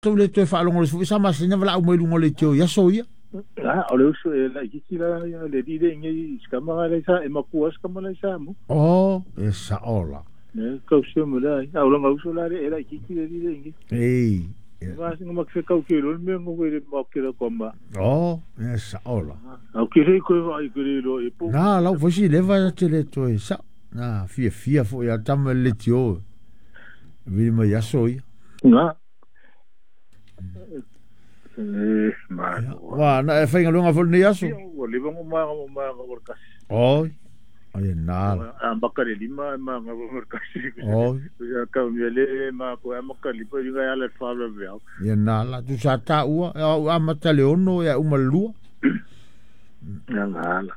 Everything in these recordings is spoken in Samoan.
Tou le toe faalogolosi foi sa masina valaau mai luga o leitio i aso ia. A o le uso e laitiiti la ia le alii le nei i sikama la sa e makua sikama la sa mo. O, e sao la. Ne kau se mo la a o langa uso la le e laitiiti le alii le nei. Ei. Ma singa ma ke kau ke lo me ngo le ma ke la ko ma. O, e sao la. Au ke le ko ai ke le lo e po. Na lau foi si leva te le toe sa. Na fia fia foi a tama le tio. Vili mai aso ia. Na. E ma. Wa na e whainga lunga fo nei aso. Ua leva ngo ma ngo ma ngo kasi. Oi. Ai na. A maka le lima ma ngo ngo kasi. Oi. Ia ka mi le ma ko a maka li pa inga ala fa la vea. Ia na la tu sa ta ua a mata le ono ia uma lua. Na na la.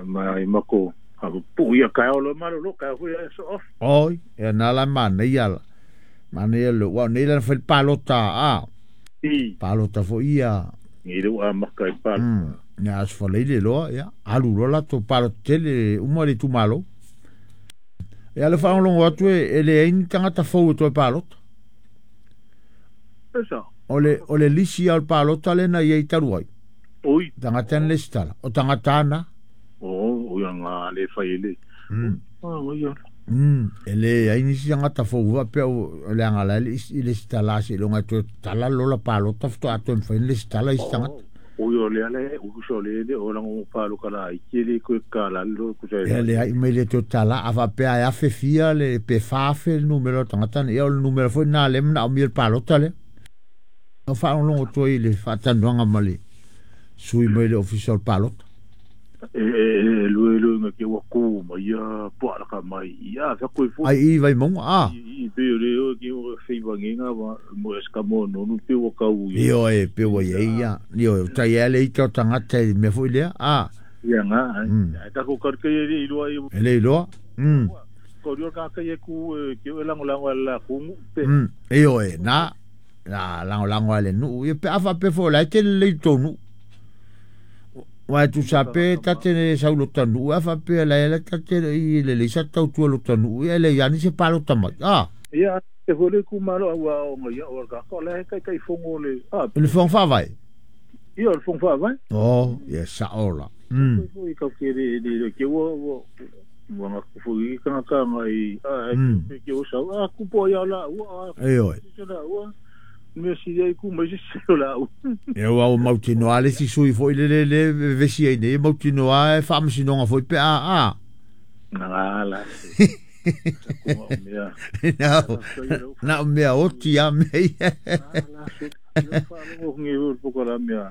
Ma i mako a pu ia ka o lo ma lo ka hu ia so off. Oi, ia na la ma nei ala. Ma nei lo wa nei la fa palota a. I. Palota fo ia. Ngi le a maka i palo. Ia as fa leile loa ia alu loa la to palota tele uma le tumalo. Ia le faalogologo atu e leai ni tagata fou e toe palota. Esa. O le lisi a o le palota lena ia i talu ai. Oi. Tagata na lesitala. O tagata ana. O, o ia ngā le whai ele. O, ia. E leai nisi tagata fou faapea o le aga la i lesitala a seiloga e toe tatala lola palota faatoa toe mafai ona lesitala isi tagata. O ia le ala e uso le le o lango palo kala i ke le ko kala lo ku sa. Ia le ai mai le toe tatala a faapea e afe fia le pe 4,000 le numera o tagata ia o le numera foi lena lea e manaomia le palota lea. O faalogologo atu ai i le faatanoaga ma le sui mai le ofisa o le palota. E e lue lue nga ke ua ku mai ia po ala ka mai ia fa ko fo. Ai i vai monga a. I pe le o ke o fei vangenga wa mo es ka mo no no pe o kau ia. Io e pe o ia ia. Io tai ele i to tangata i mea foi lea a. Ia nga ai ta ko ka ke i loa i. Ele i loa. Ko rio ka ke ku ke o lango lango ala ku pe. Io e na na lango lango ale nu ia pe afa pe fo la te le tonu. Wa tu sa pe tate le sau lo tanu a fa pe la la tate i le le sa tau tu lo tanu e le yani se palo tamai. Ah. Ia e hole ku malo ua o ngai o ka ko le kai kai fongo le. Ah. Le fong fa vai. Ia le fong fa vai. Oh, ia sa ola. Foi ka ke le le ke wo wo wa nga ku foi ka ka ngai a ke o sa a ku po ia la ua. E oi. La ua. Me si ai ku mai se la u. E ua o mautinoa le si sui foi le le le vesi ai nei mautinoa e faamasinoga foi pe a a. Na la. Na o mea oti a mea ia. La fa ngi ru po la mea.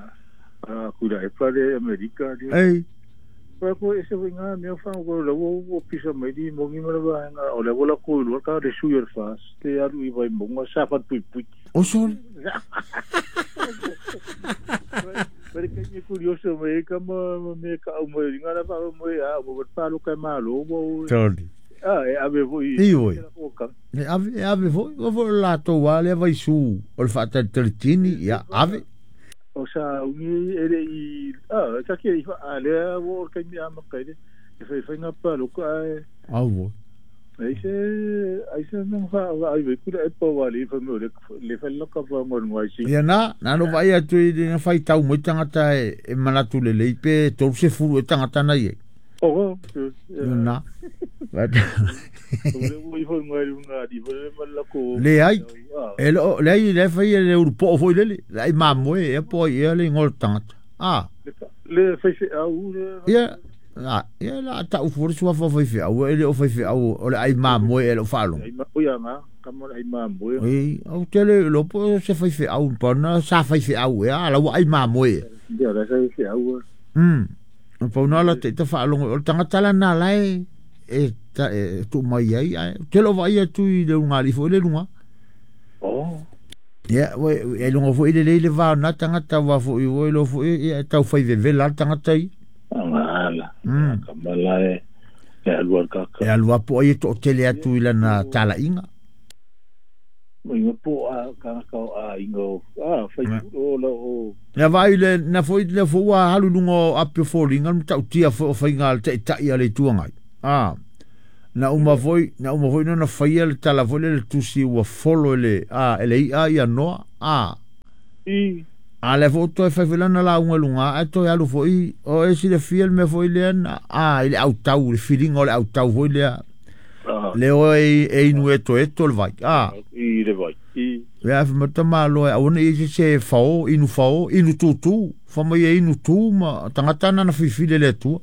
A ku la e pare Amerika. Ei. Pa ko e se nga mea fa ko la wo wo pisa mai di mo ngi mala ba nga o la wo la ko lu ka de su yer fas te aru i vai mo nga sa fa pui pui. O sol. Pero que é curioso me ka mo me ka o mo nga la fa mo a mo pa lo ka ma lo mo. Toli. Ah e ave foi. I oi. E ave e ave foi o foi la to wale vai su o le faatalitalitini ia ave. O sa ungi ele i a ka ke i a le wo ka mi ama ka ile e fai fai nga pa lo ka e. Au wo. Ai se ai se no fa ai ve ku e pa wale fa mo le le fa lo ka fa mo ngwa si. Ia na na no vai atu i na fai tau mo tangata e manatu le le pe tolu se fulu e tangata na ie. O na. Le ai e lo le ai le fai le uru po foi lele ai mamoe e po ia le ngol tangata. Ah. Le fai fe au le. Ia la ia la ta u furu sua fa fai fe au e le o fai fe au o le ai mamoe e lo falo. O ia nga ka mo ai mamoe. Ei au te le lo po se fai fe au pa na sa fai fe au e ala wa ai mamoe. Ia la sa fe au. Pa na la te ta fa lo o tangata la na la e e ta e tu mai ai ai te lo vai atu i le unga li fo le lunga. Oh. Ia we e lunga fo ile le va na tangata wa fo i wo lo fo e tau fai veve la tangata i. Ala. Ka mala e e alua ka ka. E alua po ai to tele atu i lana tala inga. Mo inga po a ka ka a inga a fai o la o. Ia vai le na fo i le fo wa halu lunga a pe fo linga tau tia fo fai ngal te tai ale tuangai. Ah. Na uma foi na faia le tala foi le tusi ua folo le a ele ia ia noa a. I. A le fo toe fai lana la unga lunga a toe alu foi o e silafia le mea foi lea na a i le autau le filiga o le autau foi lea le o e inu e toe to le vai a I le vai. I. Ia fa mata malo e aua ne i se fao inu fao inu tutu fa mai e inu tu ma tangata na fifili le atua.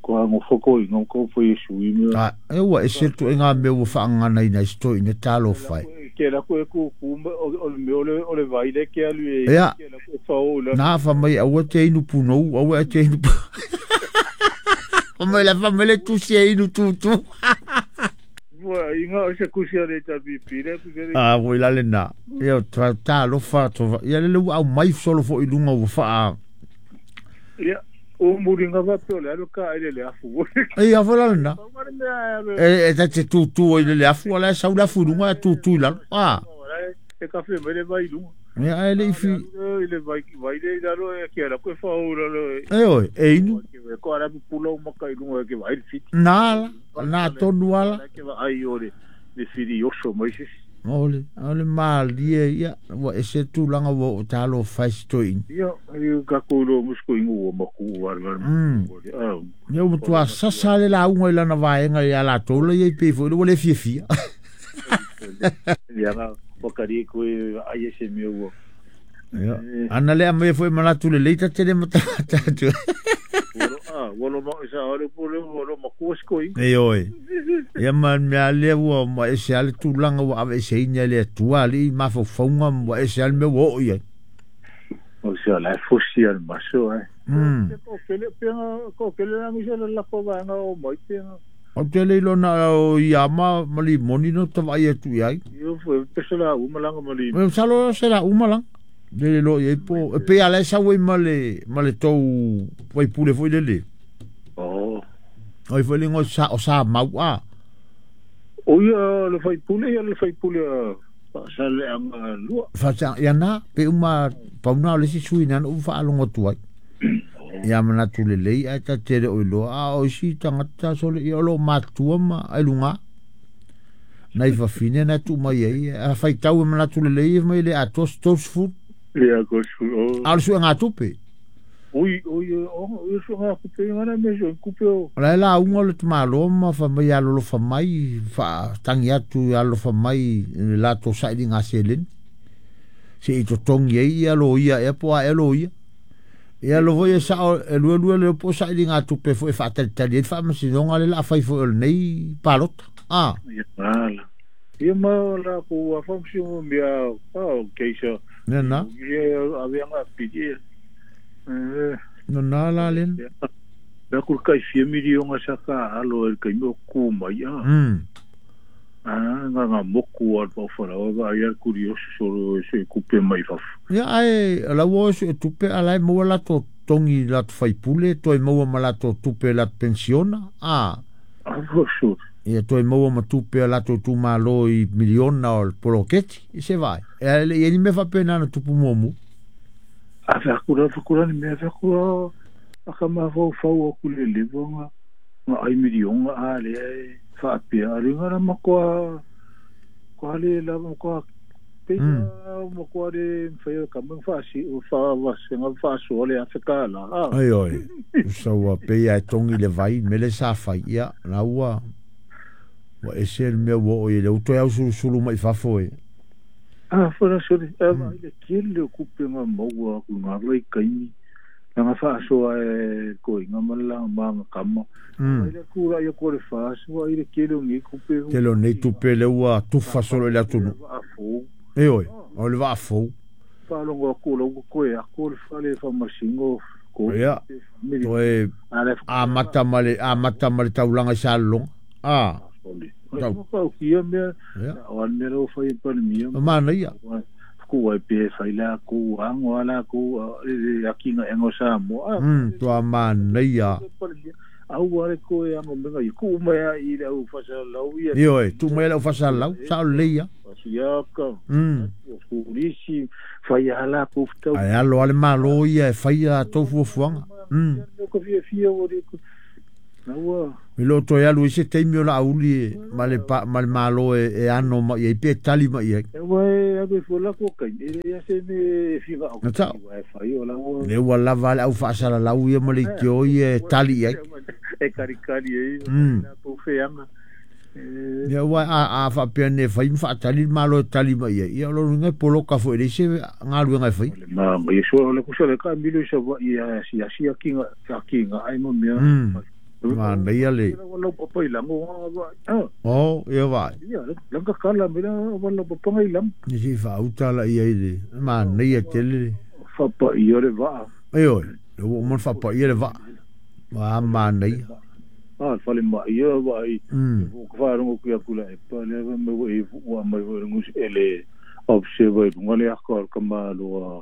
Ko ngo foko i ngo ko fo Yesu i me. A e ua e se tu e ngā mea ua whaangana ina i sto ina talo fai. Ke la ko ku ku o le me o le vai le ke alu e ke la ko fao la. Nā fa mai aua te inu punou aua te inu. O mai la fa mai le tusi e inu tutu. Ua inga o se kusi ale ta pipi le ku se. A voi la le na. Ia tra talo fa to. Ia le au mai solo fo i lunga ua wha. Ia. O muringa va pe le alu ka ile le afu. E a vola na. E ta te tutu i le afu ala sa ula fu lunga tutu la. Ah. E ka fe mele vai lunga. Ia ele fi ile vai vai le la lo e ke la ko fa o la lo. E oi, e inu. Ko ara pula o maka i lunga ke vai fit. Na na tonu ala. Ke va ai o le fili oso mai se. Ole, ole malie ia ua ese tulaga ua o talo faisitoiina. Ia, ka ko musko ingu o maku wa wa. Ia ua matua sasa le lauga i lana vaega ia latou la ia i pei foi le ua le fiafia. Ia ga wakari ko ai se mi ua. Ia, ana le amai foi manatu le leita tele matata atu. Walo ma isa ale pole walo maku skoi. E oi. Ia ma mea lea ua ma ese ale tulaga ua ave ese ina le atua ali mafaufauga ua ese ale mea ua oo i ai. O se ala fosi al maso ai. Ko kele penga ko kele la misa la ko va nga o mai penga. O te le lona o ia ma limoni no tavai atu i ai. Io foi pesela umalanga mali. Me salo sela umalanga. Le lo i po e pe ala sa ui male tou vai pule foi le. Oh. Oi foi le sa o sa mau a. O ia le fai pule ia le fai pule sa le anga lua. Fa sa ia na pe uma pauna le si sui na u fa alongo tuai. Ia mana tu le lei ai ta tere o lo a o si tangata sole ia lo matua ma ai lunga. Nai fa fine na tu mai ai a fai tau mana tu le lei mai le a tos tos fu. Ia ko su. Al su nga tupe. Oi oi o oi su nga kupe ngana me so kupe o. La la unga le malo ma fa mai alo fa mai fa tangi atu alo fa mai la to sa i nga selen. Se i to tongi ia lo ia e po a lo ia. Ia lo voi sa e lue lue le po sa i nga tupe fo e fa tali fa ma si nonga le la fai fo nei palot. Ah. Ia mala. Ia ma la ko a fa si mo mia ah keisa. Na na. Ia avea pidi. No na la len. La ku kai fia milionga saka alo el kai mo ku mai a. Ah nga nga moku al pa fara o ai al curioso solo se kupe mai fa. Ia ai la wo se tupe ala mo la to tongi la fai pule to mo ma la to tupe la pensiona. Ah. Ah so. Ia toi maua ma tupe la to tu malo i miliona o poloketi se vai. E le ni me fa pena na tupu momu. A fa kura kura ni me fa kura a ka ma fau fau o kule le bonga ma ai milionga a le fa pia a ringa na makoa ko le la ko pe mo ko le fa ka mo fa si o fa va se nga fa so le Afrika la. Ai oi. So wa pe ia tongi le vai me le sa fa ia la ua. Wa ese le mea ua o i le uto au sulu mai fafo e. Ah, fana sole, a le kele kupe nga maua ku nga lai kaimi. Nga fa so e ko nga mala ma kama. Ai le kura ia ko le fa so ai le kele ngi kupe. Kele nei tupe le ua tufa solo le atunu. E oi, o le va fo. Fa longo ko lo ko e ko le fa le fa masingo ko. Ia. Toe a mata male taulanga sa long. Ah. Tau ko kia mea o al mea o fai pandemia mana ia ko ai pe fai la ko ango ala ko akinga engo sa mo to mana ia au are ko e ango menga i ku mai i le au fasa lau ia io tu mai au fasa lau sa le ia ia ka ko risi fai ala ko tau ai alo ale malo ia fai a tofu fuanga ko fia fia o re Na ua I lo toe alu i se taimi o la auli e ma le, pa, ma le malo e ano ma i ai pe tali ma i ai. E ua e alu e fua la ko kai e le ia se me figa au Na tau. Ua e fai o la ua Le ua lava le au faasalalau ia ma le itio ia e tali i ai. E karikari e na po feanga. Ia ua a faapea ne fai ma faatali le malo e tali ma i ai. Ia o lo ngai poloka foi le se ngaluega e fai. Ma ia so le kusa le ka milo sa wa ia si asi akinga akinga ai mo mea. Ma nei le. Wala papa ilango wa. Oh, ia vai. Ia, langa kala mela wala papa ngai lam. Ni si fa utala ia ile. Ma nei tele. Fa pa ia le va. Ai oi, le wo mo fa pa ia le va. Ma ma nei. Ah, fale ma ia va ai. Ko fa rongo ku akula e pa le va me wo e wa mai wo rongo ele observe ngale akor kamalo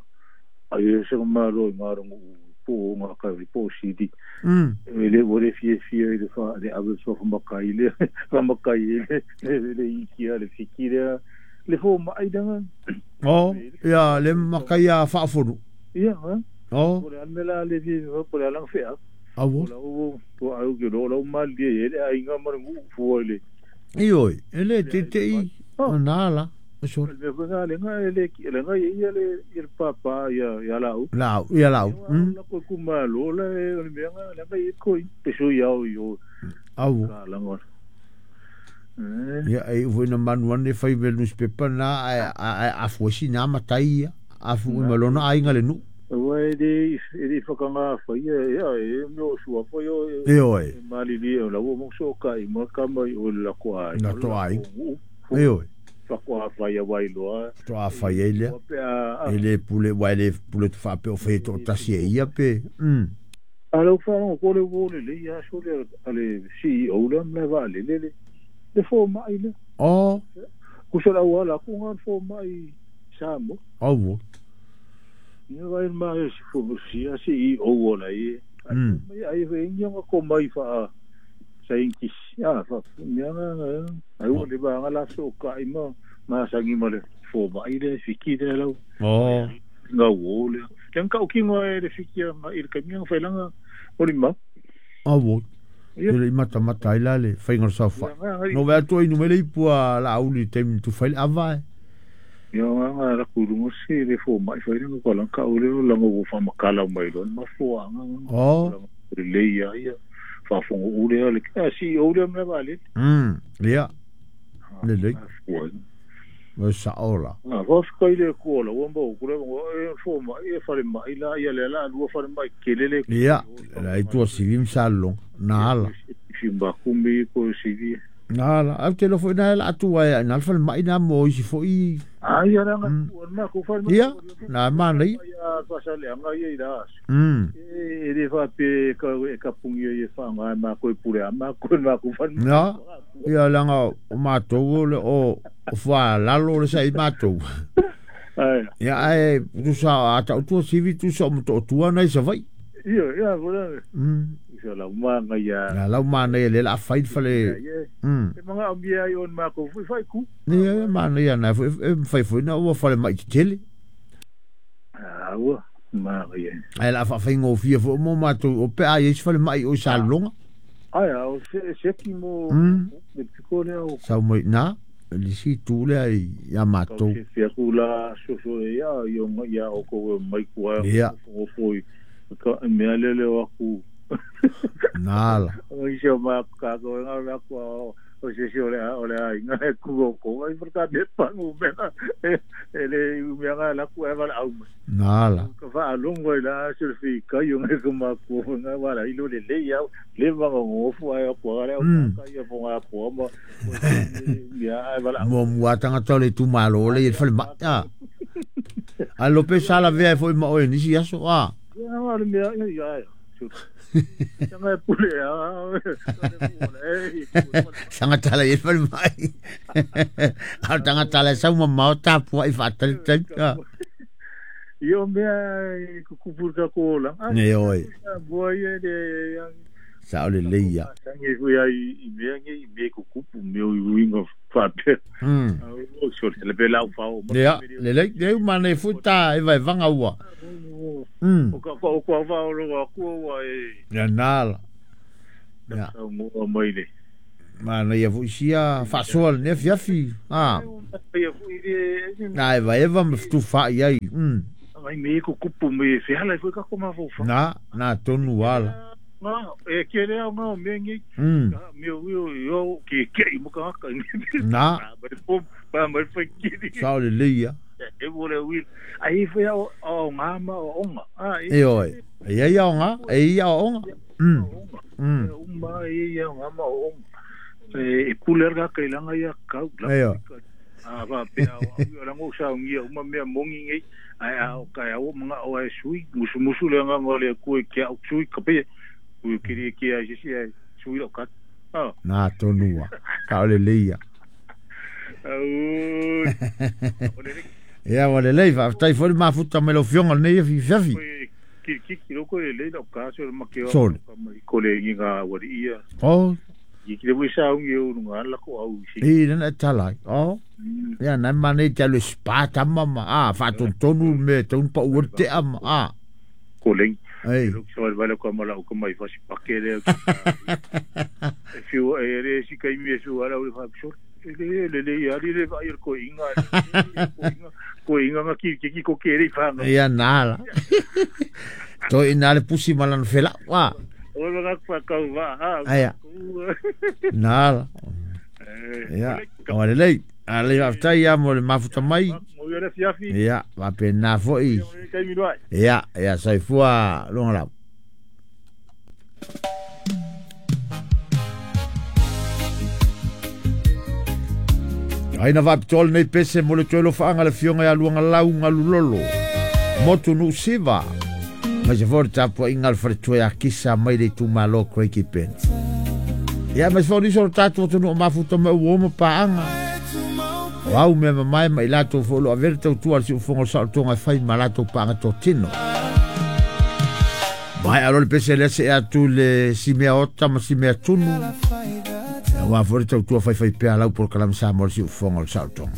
ai se kamalo ngarongo po nga ka po sidi. Le wo le fie fie le fa le ave so fa makai le fa makai le le ikia le fikire le fo mai danga. Oh, ia le makai a fa fonu. Ia, ha. Oh. Po le almela le fi po le alang fe. Awo. Po po au ke lo lo mal die le ai nga mar ngu fu le. Ioi, ele te te i na la. So. Le nga le nga le le nga ia le il papa ia ia lau. Lau, ia lau. La ko ku ma lo le le nga le nga i ko pe so ia yo. Awo. La nga. Ia e vo na manu ane fai ve newspaper na a fuesi na matai a fu malona ai nga le nu. Ua e le whakanga whai e e meo sua whai o e oe. Mali li e la ua mongso ka i mua ka mai o la ko ai. Na to ai. E oe. Whakoa whai a wailoa. To a whai e lea. E le pule, wai le pule tu whape o whai to tasi e ia pe. A lau whanau ko le wole le ia so le ale CEO la mla va le le le fo mai le. Oh. Kusa la wala ku ngan fo mai samo. Awo. Ia vai mai fo si a CEO wala i. Mai ai ve ngi ko mai fa sa inkis ya fa mia nga ai wo le ba nga la so ka i ma ma sa ngi ma le fo mai le fiki le lau. Oh. Nga wo le. Tang ka ki ngo le fiki ma il ka mi fa langa o li ma. Awo. Le mata mata ila le fai ngor sa fa. No va to inu mele pua la auli tem tu fai ava. Ia nga la ku lu si le fo mai fai nga ko la ka o le la ngo fa makala mai lo ma fo nga. Oh. Le ia ia. Fa fo o le le ka si o le ma vale. Ia. Le le. Mo sa ola. Ah, vos ko ile ko la wombo ko le e fo ma e fa le mai la ia le la lu fa le mai kelele. Ia, la itu sivim salon na ala. Fimba kumbi ko sivi. Na ala, au te lofo na la atu ai na fa mai na mo si fo i. Ah, ia la na ko fa Ia, na ma nei. Ia fa sa le anga ia ira. E le fa pe ka e ka pungi e fa nga ma ko pure ma ko na ko fa. Na, ia la nga o ma to le o fa lalo le sai ma to. Ai. Ia ai tu sa ata tu sivi tu sa mo to tua nei sa vai. Ia, ia vola. Ia la ma ia. La la ma nei le la fai fa le. E manga o mia i on ma ko fai ku. Ia ma nei na fai foi na o fa le mai tele. Ah, ua ma ia. Ai la fa fai ngo fia fo mo ma to o pe ai fa le mai o sa longa. Ai o se ki mo le piko le o. Sa mo na le si tu le ai ia ma to. Se fia ku la so so ia ia ia o ko mai ku ai. Ia. O foi ka mea le le o aku. Nala. O i se ma ka ko nga la ko o se se ole ole ai nga ku ko ai por ka me pa ngu me e le me nga la ku e va au. Nala. Ka fa longo la se fi ka yo nga ko ma ko nga va la ilo le le ya le va ngo fu ai ko ale ka ya fo nga ko ma ya ai va la. Mo mo atanga tole tu malo le fa ma. A lo pe sala ve foi ma o ni si aso a. Ya ma le ya ya. Sanga pule a. Sanga tala e fal mai. A tanga tala sa uma mau tapu ai fa tal tal. Io mea ku pur ka ko la. Ne oi. Boa ia de sa ole le ia. Sanga ku ia i mea ngi me ku kupu me o wingo fa pe. O so le pe la fa o. Ya, le le le ma ne futa e vai vanga ua. O ka ko ko va o lo ku wa e. Ya nala. Ia. Saunoa mai le. Manaia foi sia faasoa lenei afiafi. A. Ia foi le Na evaeva ma fetufaai ai. Ai me ko kupu me fehala foi ka ko mafaufau. Na, na tonu ala. Nga e ke le au nga me ngi. Me yo yo ke ke i mo ka ka. Na. Ba po pa mai foi ki. Sao le leia. E mo le wi. Ai foi au au nga ma o nga. Ah E oi. E ia o nga, e ia o nga. Uma e ia nga ma o nga. E pule ka kai langa ia kau. E oi. A va pe au la ngo sa ngia uma mea mongi ngi. Ai au kai au mga o ai sui musu musu le nga ngole ku e kia au sui ka pe. Ku kiri ki ai si ai sui lo kat. Ah. Na tonua. Ka ole leia. Au. Ia wa le lei fa tai foi mafuta me lo fionga nei fi fiafi. Ki ki ki lo ko le lei lo ka so ma ke Sole. Ko le ngi nga wa ia. Oh. Ki ki le wi sa ngi u nga la ko au si. I na talai. Oh. Ia na mane te le spa tamama. Ah, fa tonu me ton pa u te ama. Ah. Ko le. Ei. Lo so vale ko mala ko mai fasi pake le. E fiu e re si kai mi su ala u fa so. Le le le ia le va ir ko inga. Ko inga nga ki ki ko ke re fa. Ia na la. To ina le pusi malan fela. Wa. O lo ka ka va. Aia. Na la. Ia. O le lei. Ale aftai ia mo le mafuta mai. Mo ia le fiafi. Ia, va pe na foi. Kai mi noi. Ia, ia soifua longa lau. Ai na vaapitoa lenei pese mo le toe lofaaga le fioga ia luaga lauga lulolo motu Nuusiva ma se foi le tapuaiga le faletoe akisa mai le itumālo Craigieburn. Ia ma se foi nisi o le tatou atunuu mafuta mai ua oma paaga o au mea mamae ma i latou foi o loo avea le tautua a le siufofoga o le saolotoga e fai ma latou paaga totino. Mai alo le pese lea se atu le simea ota ma simea tunu. Ia ua foi le tautua faifai pea lau polokalame sa mo le siufofoga o le saolotoga.